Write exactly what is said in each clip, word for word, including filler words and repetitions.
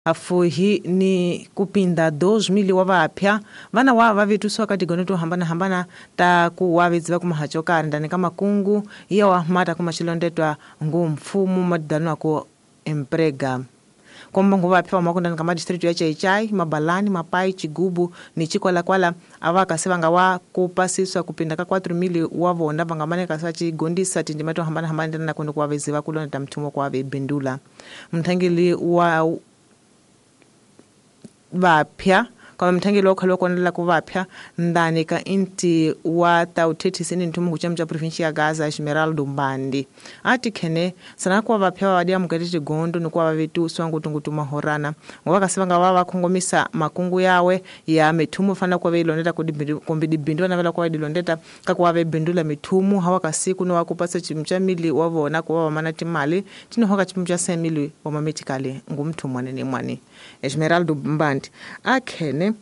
Afuhi ni kupinda dois mil wa vapya vana wa vavituswa ka tigono to hambana hambana ta ku wavidzi va kuma kari ndani ka makungu iya wa mata kuma xilondetwa ngu mfumo madano ku emprega komba ngu vapya va makundani ka madistrict ya Chaichai, Mabalani, Mapai, Chigubu ni Chikwalakwala ava kasi va nga wa ku pasiswa kupinda ka quatro mil wa vona va nga mane kasi va chigondisa tindima to hambana hambana na ku ku wavidzi va kulonda mthumo ku wave bindula mthangeli wa vapya kama mthangeli wa khalo konela ku vapya ndani ka inti wa tauthethisi ni nthumu kuchama cha province ya Gaza Esmeralda Mbandi ati khene sana kwa vapya va dia mukati tigondo ni kwa vavetuswa ngutungutu mahorana ngoba kasi vanga va va khongomisa makungu yawe ya mithumu fana kwa veilondeta kumbe dibindu na vela kwa dilondeta ka kwa ve bindula mithumu hawa kasiku no wakupasa chimcha mili wa vona kwa va mana timali tino hoka chimcha semili wa mametikale ngumthumu wanene mwani Esmeralda Mbandi akhene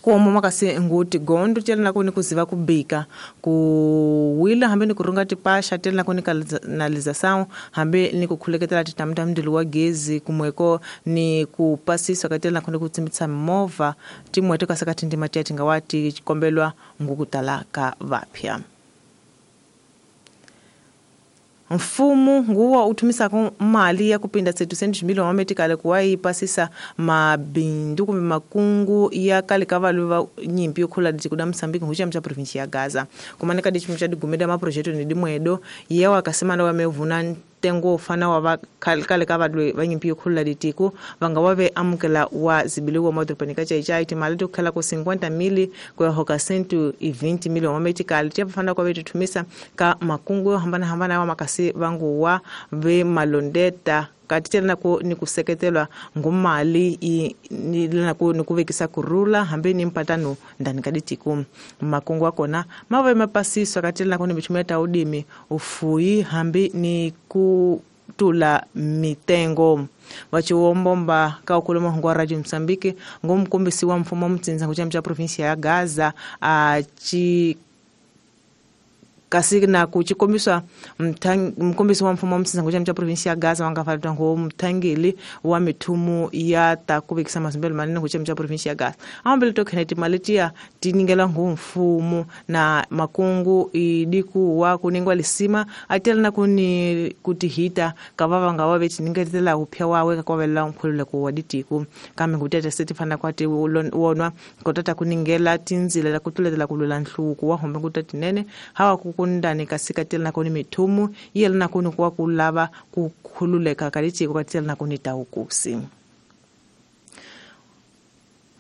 kuomo makasi nguti gondo tela kuni kuziva kubika kuwila hambe ni kurunga tipasha tela kuni kanaliza sawo hambe ni kukhuleketela titamta mndilo wa gezi kumweko ni kupasiswa katela kuni kutsimbitsa movha timweto kasakati ndima tiya tingawati chikombelwa ngukutala ka vapya. Mfumo nguwa utumisa ku mali ya kupinda setecentos mil wa metikale kuwa ipasisa mabindu kumbe makungu ya kale kavalu va nyimpi yokhula dikuda Msambiki hucha mcha province ya Gaza kumaneka dichimcha digumeda ma project ni dimwedo yewa akasema wa mevuna tengo fana wa kale kavalu va nyimpi yokhula ditiku vanga wave amukela wa zibiliwa modropanika chaichai timali tukhala ku cinquenta mil kwa hoka cento e vinte mil wa metikale tia fana kwa vetu tumisa ka makungu yo hambana hambana wa makasi vangu wa ve malondeta katitela na ku ni kuseketelwa ngumali ni na ku ni kuvekisa kurula hambe ni mpatano ndani kaditiku makungu akona mave mapasiswa katitela na ku ni michumeta udimi ufuyi hambe ni kutula mitengo wachiwombomba ka ukuluma hungu wa Radio Msambiki ngumkumbisi wa mfumo mtsinza kuchamcha provinsia ya Gaza a chi kasi na kuchikombiswa mkombisi wa mfumo mtsinza kuchamcha provinsia ya Gaza wangafalwa ngo mthangeli wa mithumu ya ta kuvekisa mazimbelo manene kuchamcha provinsia ya Gaza ambele tokheneti maletia tiningela ngo mfumo na makungu idiku wa kuningwa lisima atela na kuni kutihita kavava ngawa betiningetela upya wawe kakwavela mkhulule ku waditiku kambe ngutete setifana kwati wonwa kotata kuningela tinzila la kutuletela kulula nhluku wa hombe ngutatinene hawa kukundani kasikatela na kuni mithumu yela na kuni kwa kulava kukhululeka kalitiko katela na kuni taukusi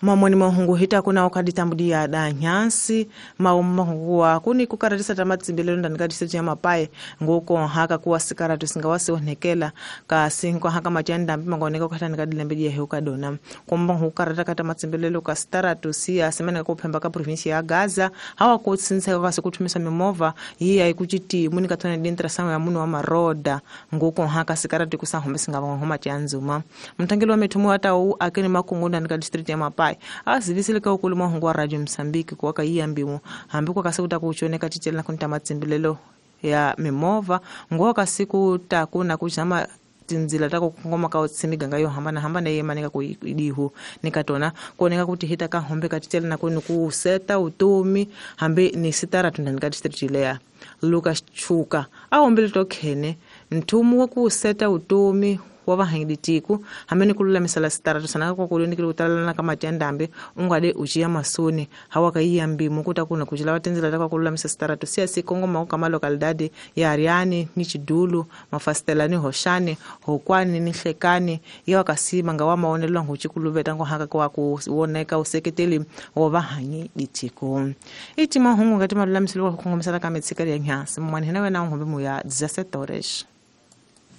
mamoni mahungu hita kuna okaditambudia da nyansi maumahungu kuni kukaratisa tamatsimbelelo ndani kadiseti ya mapaye ngoko haka kuwa sikaratu singawasi onekela kasi haka machanda mbangoneka katani kadilembedia heukadona komba hukarata kata matsimbelelo ka staratu siya semana kuphemba ka province ya Gaza hawa kutsintseka kasi kuthumisa mimova yiya ikuchiti muni katona dintra sango ya munu wa maroda ngoko haka sikaratu kusahombe singavangoma chanzuma mthangelo wa mithumu atau akene makungu ndani ka district ya Mapai azivisile ka ukuluma hungu wa Radio Msambiki kwa kayiyambimu hambi kwa kasikuta kuchoneka tichela kunta matsimbelelo ya mimova ngoka kasiku takuna kuchama tinzila tako kungoma ka otsimiganga yo hambana hambana yemanika kuidihu nikatona koneka kuti hita ka hombe katichela na kuni kuseta utumi hambi ni sitara tundani ka district lea Lucas Chuka ahombele tokhene nthumu wa kuseta utumi wa vahangiditiku hamene kululamisa la sitaratu sana kwa kuloni kile kutalana kama tandambe ungade uchiya masoni hawa kaiyambi mukuta kuna kuchila watenzela takwa kululamisa sitaratu siya sikongo mauka kama localidade ya Ariani ni Chidulu mafastela ni Hoshani Hokwani ni Hlekani yawa kasima ngawa maonelo nguchikuluveta ngo haka kwa kuoneka useketeli wa vahangiditiku iti mahungu ngati malulamiselo kwa kukongomisa kama tsikali ya nyasi mwanhena wena ngombe muya dezessete horas.